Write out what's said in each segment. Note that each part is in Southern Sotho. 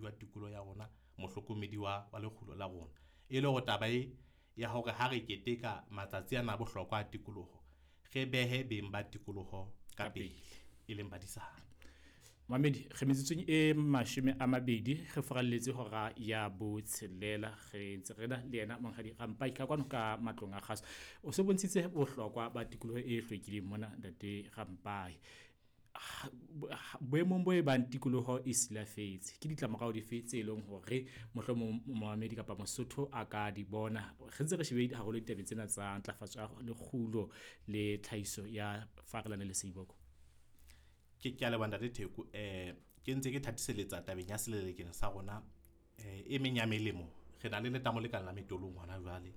Mohlokomedi wa tikoloho ya rona, mohlokomedi wa lekgulo la rona. E le hore taba e ya hore ha re keteka matsatsi ana a bohlokwa a tikoloho, re behe beng ba tikoloho ka pele, e leng badisana. Mamedi, re metsotsong e 20 re furalletse hora ya 6, re ntse re na le yena Monghadi Rampai ka kwano ka matlong a kgaso. O se bontshitse bohlokwa ba tikoloho e hlwekileng mona, Ntate Rampai. Boemong bo e bang tikoloho e silafetse, ke ditlamorao dife tse leng hore mohlomong momamedi kapa Mosotho a ka di bona? Re ntse re shebile haholo ditabeng tsena tsa ntlafatso ya lekgulo le tlhahiso ya farelane le seiboko. Ke a leboha Ntate Theko. Ke ntse ke thatiseletsa tabeng ya selelekeng sa rona. E meng ya melemo, re na le letamo le kang la Metolong hona jwale.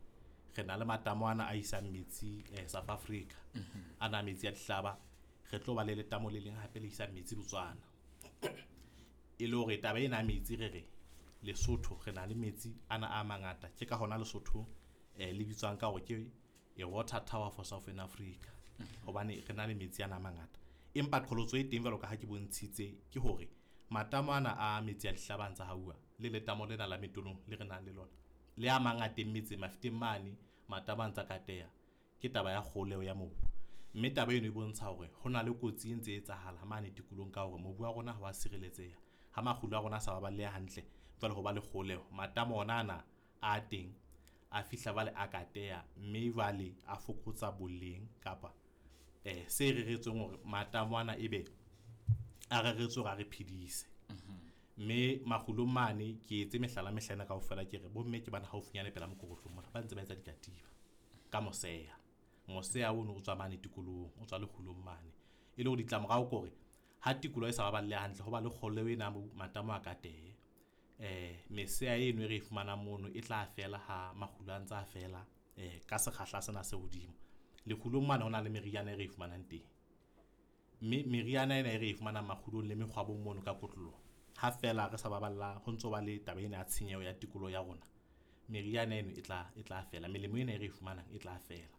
Re na le matamo ana a isang metsi South Africa. Ana metsi a dihlaba. Re tlo ba le letamo le leng hape le isang metsi Botswana. E le hore taba ena ya metsi re re Lesotho re na le metsi ana a mangata. Ke ka hona Lesotho le bitswang ka hore ke a water tower for Southern Africa. Hobane re na le metsi ana a mangata. Empa qholotso e teng jwalo ka ha ke bontshitse ke hore matamo ana a metsi a dihlaba a ntsa hauwa le letamo lena la Metolong le re nang le lona le a mang a teng metseng mafeteng mane matamo a ntsa kateha ke taba ya kgoleho ya mobu. Mme taba eno e bontsha hore ho na le kotsi e ntse e etsahala mane tikolohong ka hore mobu wa rona ha wa sireletseha. Ha makgulo a rona a sa baballeha hantle, jwale ho ba le kgoleho. Matamo ona ana a teng a fihla jwale a kateha, mme jwale a fokotsa boleng kapa se reretsweng hore matamo ana ebe a reretswe hore a re phedise. Mme makgulong mane ke etse mehlala mehlena kaofela ke re bomme ke bana haufinyane pela mokorotlong mona ba ntse ba etsa dikatiba ka moseya. Moseya ono o tswa mane tikolohong, o tswa lekgulong mane. E le hore ditlamorao ke hore ha tikoloho e sa baballe hantle ho ba le kgoleho ena matamo a katehe. Meseya eno e re e fumanang mono e tla fela ha makgulo a ntse a fela ka sekgahla sena se hodimo. Lekgulong mane ho na le meriana e re e fumanang teng. Mme meriana ena e re e fumanang makgulong le mekgwabong mono ka kotloloho, ha fela re sa baballa ho ntso ba le taba ena ya tshenyeho ya tikoloho ya rona, meriana eno e tla fela, melemo ena e re e fumanang e tla fela.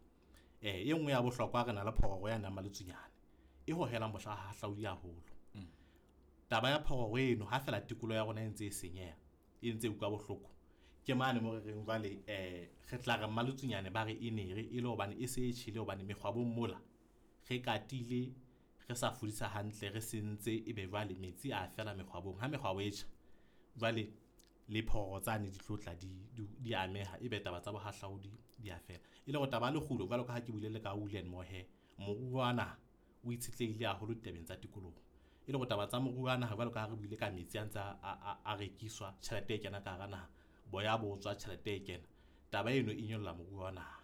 E nngwe ya bohlokwa re na le phororo ya nang Maletsunyane e hohelang bohlahlaudi haholo. Taba ya phororo eno ha fela tikoloho ya rona e ntse e senyeha, e ntse e utlwa bohloko, ke mane mo re reng jwale re tla re Maletsunyane ba re e nere e le hobane e se e tjhele hobane mekgwabong mola re katile re sa fudisa hantle re sentse ebe jwale metsi a fela mekgwabong. Ha mekgwabo e tjha jwale le phororo tsane di tlo tla di ameha ebe taba tsa bohahlaudi di a fela. E le hore taba ya lekgulo jwalo ka ha ke buile le ka wool and mohair, moruo wa naha o itshetlehile haholo ditabeng tsa tikoloho. E le hore taba tsa moruo wa naha jwalo ka ha re buile ka metsi a ntse a rekiswa, tjhelete e kena ka hara naha, boya bo tswa, tjhelete e kena. Taba eno e nyolla moruo wa naha.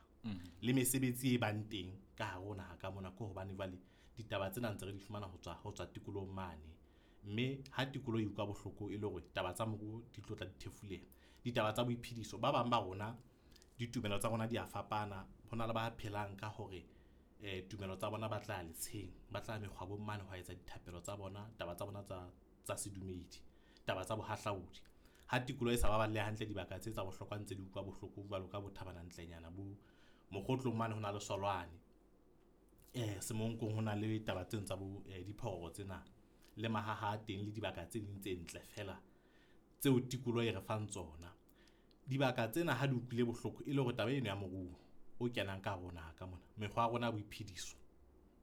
Le mesebetsi e bang teng ka hare ho naha ka mona ke hobane jwale ditaba tsena ntse re di fumana ho tswa tikolohong mane. Mme ha tikoloho e utlwa bohloko e le hore taba tsa moruo di tlo tla di thefuleha. Ditaba tsa boiphediso, ba bang ba rona ditumelo tsa rona di a fapana. Ho na le ba phelang ka hore tumelo tsa bona ba tla letsheng, ba tla mekgwabong mane ho etsa dithapelo tsa bona, taba tsa bona tsa sedumedi, taba tsa bohahlaudi. Ha tikoloho e sa baballe hantle dibaka tse tsa bohlokwa ntse di utlwa bohloko jwalo ka bo Thabana-Ntlenyana, bo Mokgotlong mane ho na le Solwane. Semonkong ho na le taba tseno tsa bo diphororo tsena le mahaha a teng le dibaka tse ding tse ntle fela tseo tikoloho e re fang tsona. Dibaka tsena ha di utlwile bohloko e le hore taba eno ya moruo o kenang ka hare ho naha ka mona, mekgwa ya rona ya boiphediso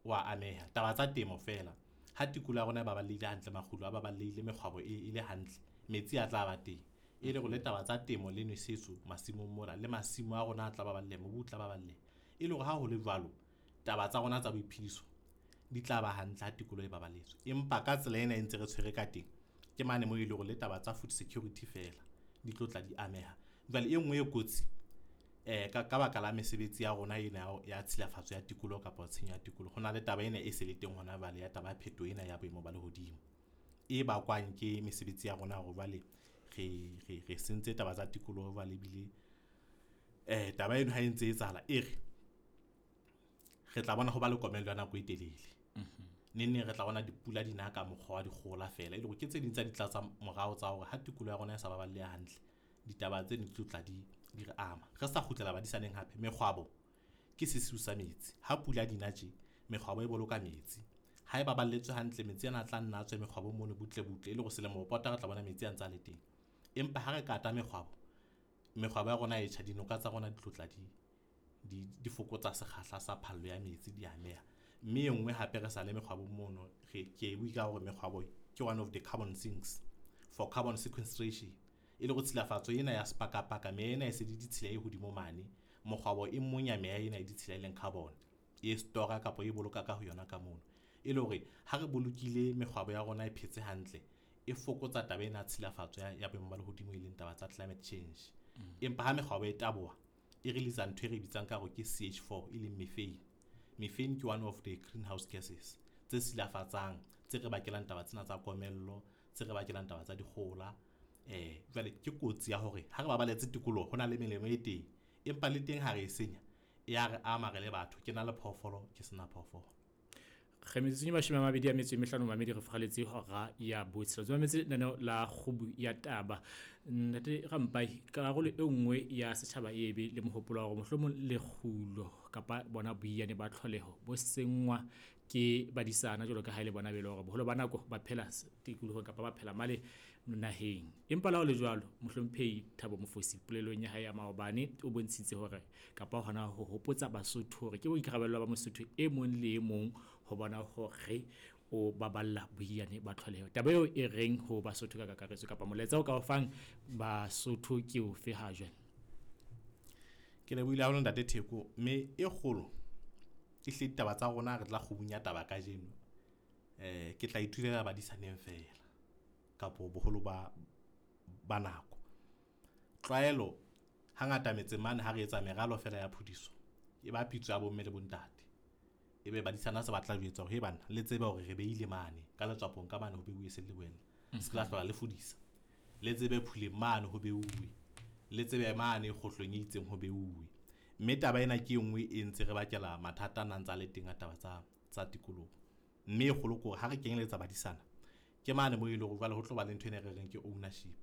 wa ameha. Taba tsa temo fela, ha tikoloho ya rona e baballehile hantle, makgulo a baballehile, mekgwabo e le hantle, metsi a tla ba teng. E le hore le taba tsa temo le nwesetso masimong mola, le masimo a rona a tla baballeha, mobu o tla baballeha. E le hore ha ho le jwalo, taba tsa rona tsa boiphediso di tla ba hantle ha tikoloho e baballetswe. Empa ka tsela ena e ntse re tshwere ka teng, ke mane moo e le hore le taba tsa food security fela di tlo tla di ameha. Jwale e nngwe e kotsi ka baka la mesebetsi ya rona ena ya tshilafatso ya tikoloho kapa tshenyo ya tikoloho, ho na le taba ena e se le teng hona jwale ya taba ya phetoho ena ya boemo ba lehodimo e bakwang ke mesebetsi ya rona hore jwale re sentse taba tsa tikoloho jwale ebile taba eno ha e ntse e etsahala e re tla bona ho ba le komello ya nako e telele. Neng re tla bona dipula di na ka mokgwa wa dikgohola fela, e le hore ke tse ding tsa ditlatsa morao tsa hore ha tikoloho ya rona e sa baballeha hantle, ditaba tseno di tlo tla di re ama. Re sa kgutlela badisaneng hape, mekgwabo ke sesiu sa metsi. Ha pula di na tje, mekgwabo e boloka metsi. Ha e baballetswe hantle, metsi ana a tla nna a tswe mekgwabo mono butle butle, e le hore selemo ho pota re tla bona metsi a ntse a le teng. Empa ha re kata mekgwabo, mekgwabo ya rona e tjha, dinoka tsa rona di tlotla di fokotsa sekgahla sa phallo ya metsi, di ameha. Mme e nngwe hape re sa le mekgwabo mono, re ke bue ka hore mekgwabo ke one of the carbon sinks for carbon sequestration. E le hore tshilafatso ena ya sepakapaka, meya ena e se le ditshila e hodimo mane, mokgwabo e monya meya ena e ditshila e leng carbon, e store kapa e boloka ka ho yona ka mono. E le hore ha re bolokile mekgwabo ya rona e phetse hantle, e fokotsa taba ena ya tshilafatso ya boemo ba lehodimo, e leng taba tsa climate change. Empa ha mekgwabo e taboha, e release ntho e re bitsang ka hore ke CH4, e leng methane. Methane ke one of the greenhouse gases tse silafatsang, tse re bakelang taba tsena tsa komello, tse re bakelang taba tsa dikgohola. Jwale ke kotsi ya hore ha re babaletse tikoloho, ho na le melemo e teng, empa le teng ha re e senya, e ya re ama re le batho. Ke na le phoofolo, ke sena phoofolo. Re metsotsong e 25 mamedi, re furaletse hora ya botshelela. Re mametse lenaneo la Kgubu ya Taba. Ntate Rampai, karolo e nngwe ya setjhaba e be le mohopolo wa hore mohlomong lekgulo kapa bona boiyane ba tlholeho bo senngwa ke badisana, jwalo ka ha e le bona be le hore boholo ba nako ba phela tikolohong kapa ba phela male naheng. Empa le ha ho le jwalo, mohlomphehi Thabo Mofosi polelong ya hae ya maobane o bontshitse hore kapa hona ho hopotsa Basotho hore ke boikarabelo ba Mosotho e mong le e mong ho bona hore o baballa boiyane ba tlholeho. Taba eo e reng ho Basotho ka kakaretso, kapa molaetsa o ka o fang Basotho ke ofe ha jwale? Ke lebohile haholo Ntate Theko, mme e kgolo e hle ditaba tsa rona re tla kgubung ya taba kajeno. Ke tla ithulela badisaneng feela kapo boholo ba nako. Tlwaelo hangata metseng mane ha re etsa meralo feela ya phudiso, e ba pitso ya bomme le bontate. Ebe badisana se batla jwetsa hore he bana, le tsebe hore re beile mane ka letswapong ka mane ho beuwe se le boela. Se ka hlola le fudisa. Le tsebe phuleng mane ho beuwe. Le tsebe mane kgohlong e itseng ho beuwe. Mme taba ena ke e nngwe e ntse re bakela mathata a nang tsa le teng a taba tsa tikoloho. Mme e kgolo ke hore ha re kenyeletsa badisana, ke mane moo e leng hore jwale ho tlo ba le ntho ena e re reng ke ownership.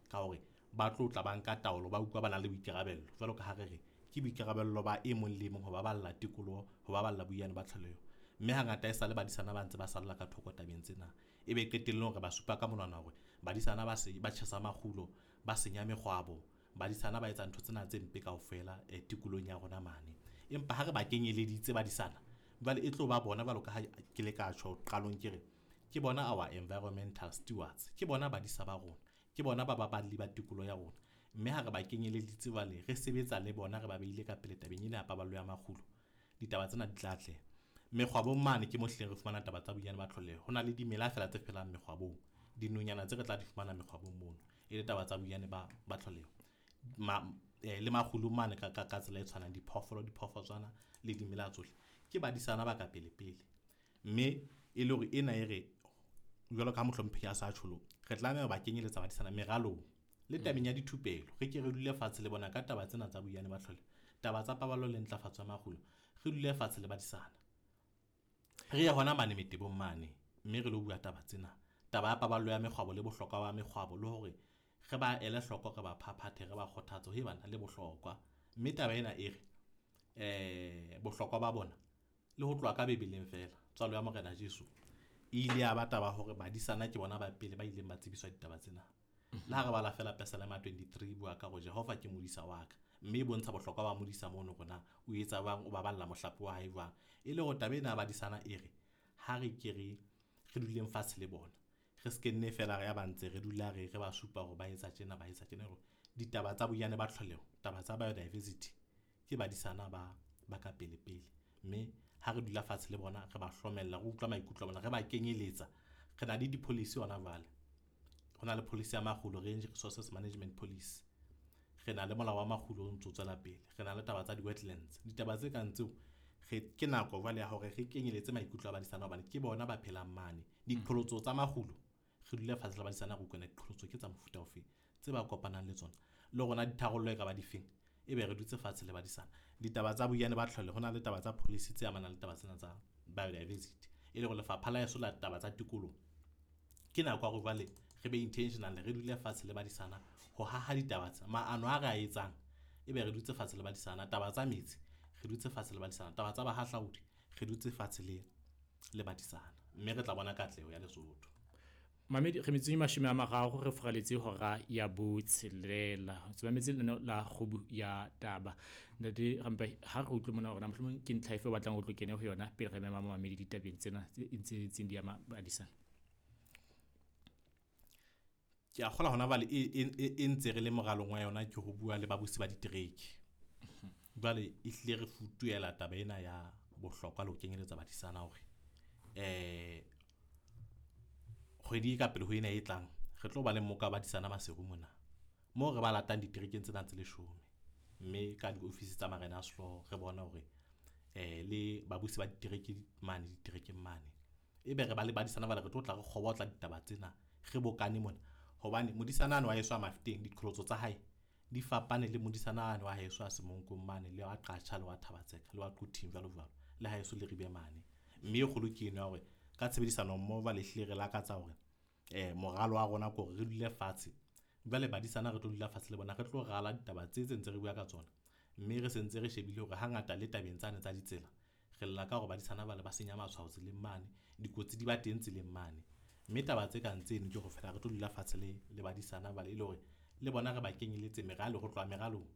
Ka hore ba tlo tla ba nka taolo, ba utlwa ba na le boikarabello. Jwalo ka ha re re ke boikarabello ba e mong le e mong ho baballa tikoloho, ho baballa boiyane ba tlholeho. Mme hangata e sale badisana ba ntse ba salla ka thoko tabeng tsena. Ebe qetellong re ba supa ka monwana hore badisana ba se ba tjhesa makgulo, ba senya mekgwabo, badisana ba etsa ntho tsena tse mpe kaofela tikolohong ya rona mane. Empa ha re ba kenyeleditse badisana, jwale e tlo ba bona jwalo ka ha ke le ka tjho qalong ke re ke bona our environmental stewards, ke bona badisa ba rona, ke bona ba baballi ba tikoloho ya rona. Mme ha re ba kenyeleditse jwale re sebetsa le bona, re ba beile ka pele tabeng ena ya paballo ya makgulo, ditaba tsena di tla atleha. Mekgwabong mane ke mo hlileng re fumana taba tsa boiyane ba tlholeho. Ho na le dimela feela tse phelang mekgwabong, dinonyana tse re tla di fumana mekgwabong mono, e le taba tsa boiyane ba tlholeho. Le makgulong mane ka tsela e tshwanang, diphoofolo, diphoofotswana le dimela tsohle ke badisana ba ka pele pele. Mme e le hore ena e re jwalo ka mohlomphehi a sa tjholo, re tlameha ho ba kenyeletsa badisana meralong le tabeng ya dithupelo. Re ke re dule fatshe le bona ka taba tsena tsa boiyane ba tlholeho, taba tsa paballo le ntlafatso ya makgulo, re dule fatshe le badisana. Re ye hona mane metebong mane, mme re lo bua taba tsena, taba ya paballo ya mekgwabo le bohlokwa ba mekgwabo, le hore re ba ele hloko, re ba phaphathe, re ba kgothatse he bana le bohlokwa. Mme taba ena e re bohlokwa ba bona le ho tloha ka Bibeleng feela, tswalo ya Morena Jesu e ile ya ba taba hore badisana ke bona ba pele ba ileng ba tsebiswa ditaba tsena. Le ha re bala feela Pesalema 23 bua ka hore Jehova ke modisa wa ka, mme e bontsha bohlokwa ba modisa mono hore na o etsa jwang, o baballa mohlape wa hae jwang. E le hore taba ena ya badisana e re ha re ke re duleng fatshe le bona, re se ke nne feela re ya ba ntse re dula re ba supa hore ba etsa tjena, ba etsa tjena. Ditaba tsa boiyane ba tlholeho, taba tsa biodiversity ke badisana ba ka pele pele. Mme ha re dula fatshe le bona, re ba hlomella, re utlwa maikutlo a bona, re ba kenyeletsa. Re na le di-policy hona jwale. Ho na le policy ya makgulo, Range Resources Management Policy. Re na le molao wa makgulo o ntso tswela pele. Re na le taba tsa di-wetlands. Ditaba tse kang tseo, ke nako jwale ya hore re kenyeletse maikutlo a badisana hobane ke bona ba phelang mane. Diqholotso tsa makgulo, re dule fatshe le badisana re utlwe diqholotso ke tsa mofuta ofe tse ba kopanang le tsona, le rona ditharollo e ka ba difeng, ebe re dutse fatshe le badisana. Ditaba tsa boiyane ba tlholeho, ho na le taba tsa policy tse amanang le taba tsena tsa biodiversity, e le hore lefapha la heso la taba tsa tikoloho ke nako ya hore jwale re be intentional, re dule fatshe le badisana ho haha ditaba tsa maano a re a etsang, ebe re dutse fatshe le badisana. Taba tsa metsi re dutse fatshe le badisana, taba tsa bahahlaodi re dutse fatshe le le badisana, mme re tla bona katleho ya Lesotho. Mamedi, re metsotsong e 30 re furaletse hora ya 6. Ntse mametse lenaneo la Kgubu ya Taba. Ntate Rampai, ha re utlwe mona hore na mohlomong ke ntlha efe o batlang o tlo kene ho yona pele re mema mamedi ditabeng tsena tse ntseng di ama badisana. Ke a kgolwa hona jwale e ntse re le moralong wa yona ke ho bua le babusi ba ditereke. Jwale e hlile re futuhela taba ena ya bohlokwa le ho kenyeletsa badisana hore kgwedi e ka pele ho ena e tlang re tlo ba le mmoka wa badisana Maseru mona, moo re ba latang diterekeng tsena tse 10, mme ka diofisi tsa marena a sehlooho re bona hore le babusi ba ditereke mane diterekeng mane, ebe re ba le badisana bale re tlo tla re kgobotla ditaba tsena re bokane mona. Hobane modisana ane wa heso a Mafeteng diqholotso tsa hae di fapane le modisana ane wa heso a Semonkong mane, le wa Qacha, le wa Thabatseka, le wa Quthing jwalo jwalo, le haeso le Ribe mane. Mme e kgolo ke eno ya hore ka tshebedisano mmoho jwale ehlile re lakatsa hore moralo wa rona ke hore re dule fatshe. Jwale badisana re tlo dula fatshe le bona, re tlo rala ditaba tse tse ntse re bua ka tsona, mme re sentse re shebile hore hangata le tabeng tsane tsa ditsela re lla ka hore badisana bale ba senya matshwao tseleng mane, dikotsi di ba teng tseleng mane. Mme taba tse kang tseno ke hore fela re tlo dula fatshe le badisana bale e le hore le bona re ba kenyeletse meralo, ho tloha meralong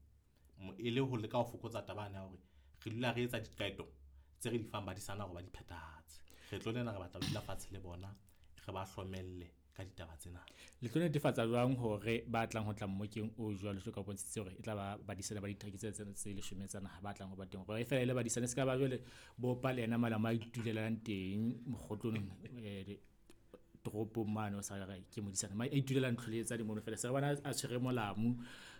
e le ho leka ho fokotsa taba ya hore re dula re etsa diqeto tse re di fang badisana hore ba di phethahatse. Re tlo lena re batla ho dula fatshe le bona, re ba hlomelle ka ditaba tsena. Le tlo netefatsa jwang hore ba tlang ho tla mmokeng o jwalo jwalo ka bontshitse hore e tla ba badisana ba ditereke tse 10 tsa naha ba tlang ho ba teng, hore e fela e le badisana, se ka ba jwale bopa le yena malama a itulelang teng mokgotlong toropong mane o sa re ke modisana, a itulela ntho le tsa dimono fela, se re bona a tshwere molamu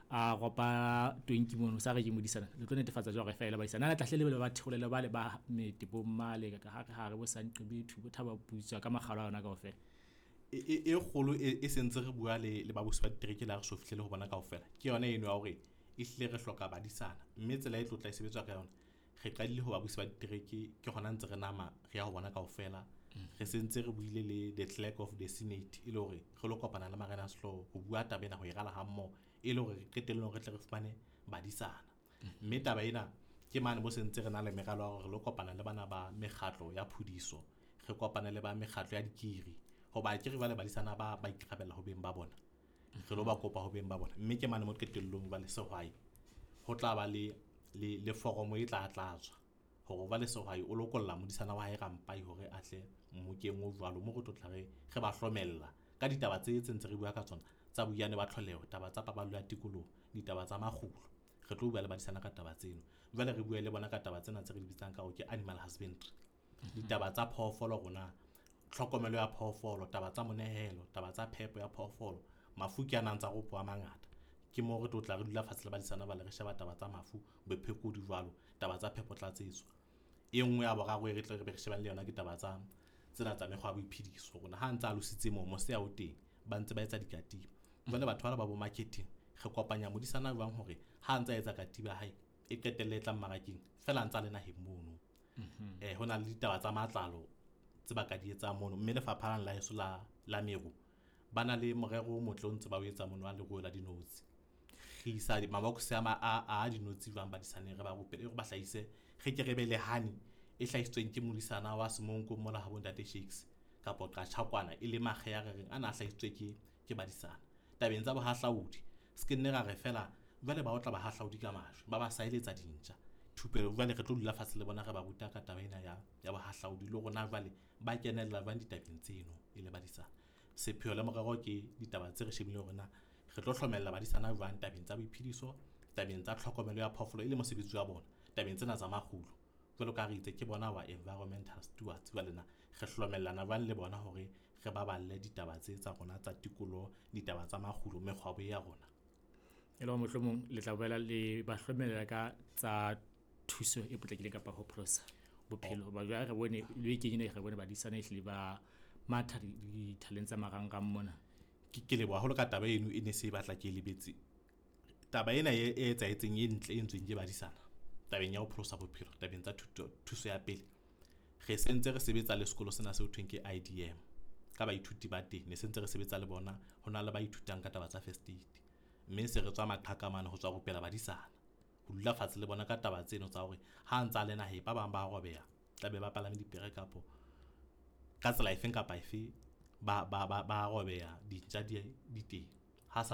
a ropa 20 mono, sa re ke modisana. Le tlo netefatsa jwang hore e fela badisana na tlahle le ba theolele ba le ba metebong male ka ha re bo Sanqebethu bo Thaba Putswa ka makgalo a yona kaofela? E kgolo e sentse re bua le babusi ba ditereke la re so fihlele ho bona kaofela, ke yona eno ya hore e hlile re hloka badisana, mme tsela e tlo tla e sebetswa ka yona re qadile ho babusi ba ditereke, ke hona ntse re nama re ya ho bona kaofela. Re sentse re buile le the clerk of the senate e le hore re lo kopana le marena a sehlooho ho bua taba ena, ho e rala ha mmoho e le hore re qetellong re tle re fumane badisana. Mme taba ena ke mane bo sentse re na le meralo ya hore re lo kopana le bana ba mekgatlo ya phudiso, re kopane le ba mekgatlo ya dikiri, hoba ke re jwale badisana ba ikarabella ho beng ba bona, re lo ba kopa ho beng ba bona. Mme ke mane mo qetellong jwale sehwai ho tla ba le foromo e tla tlatswa hore jwale sehwai o lokolla modisana wa hae Rampai hore a tle mmokeng o jwalo, mo re tlo tla re ba hlomella ka ditaba tse ntse re bua ka tsona tsa boiyane ba tlholeho, taba tsa paballo ya tikoloho, ditaba tsa makgulo. Re tlo bua le badisana ka taba tseno. Jwale re bua le bona ka taba tsena tse re di bitsang ka hore ke animal husbandry, ditaba tsa phoofolo rona, tlhokomelo ya phoofolo, taba tsa monehelo, taba tsa phepo ya phoofolo, mafu ke a nang tsa ropo a mangata. Ke moo re tlo tla re dula fatshe le badisana ba le re sheba taba tsa mafu, bophekodi jwalo, taba tsa phepo tlatsetso. E nngwe ya boraro e re tle re be re shebane le yona ke taba tsa tsena tsa mekgwa ya boiphediso, rona ha ntse a lositse moo mose ya o teng ba ntse ba etsa dikatiba. Jwale batho bana ba bo marketing re kopanya modisana jwang hore ha ntse a etsa katiba ya hae e qetelle e tla mmarakeng fela ntse a le naheng mono. Ho na le ditaba tsa matlalo tse ba ka di etsang mono, mme lefapha la heso la meru ba na le morero o motle o ntse ba o etsa mono wa leruo la dinotshi. Re isa mabokose a dinotshi jwang badisaneng, re ba rupele hore ba hlahise, re ke re be le honey e hlahisitsweng ke modisana wa Semonko mola ha bo ntate Shakes kapa Qacha kwana, e le makge ya re reng ana a hlahisitswe ke badisana. Tabeng tsa bohahlaudi se ke nne ra re fela jwale ba otla bahahlaudi ka majwe, ba ba saeletsa dintja thupelo. Jwale re tlo dula fatshe le bona re ba ruta ka taba ena ya bohahlaudi le rona jwale ba kenella jwang ditabeng tseno e le badisana. Sepheo le morero ke ditaba tse re shebileng hore na re tlo hlomella badisana jwang tabeng tsa boiphediso, tabeng tsa tlhokomelo ya phoofolo e le mosebetsi wa bona, tabeng tsena tsa makgulo. Jwalo ka re itse ke bona wa environmental stewards, jwale na re hlomellana jwang le bona hore re baballe ditaba tse tsa rona tsa tikoloho, ditaba tsa makgulo, mekgwabo ya rona. E le hore mohlomong le tla boela le ba hlomella ka tsa thuso e potlakileng kapa ho pholosa bophelo. Ba jwale re bone le bekeng ena re bone badisana ehlile ba matha dithaleng tsa marangrang mona. Ke leboha haholo ka taba eno, e ne se e batla ke lebetse. Taba ena e etsahetseng e ntle e entsweng ke badisana tabeng ya ho pholosa bophelo, tabeng tsa thuso ya pele. Re sentse re sebetsa le sekolo sena seo thweng ke IDM ka baithuti ba teng, ne sentse re sebetsa le bona, ho na le ba ithutang ka taba tsa first aid, mme se re tswa maqhaka mane ho tswa rupela badisana, ho dula fatshe le bona ka taba tseno tsa hore ha ntsa le naheng ba bang ba robeha, tla be ba palame dipere kapo Ka tsela efeng kapa efe, ba robeha, dintja di teng. Ha sa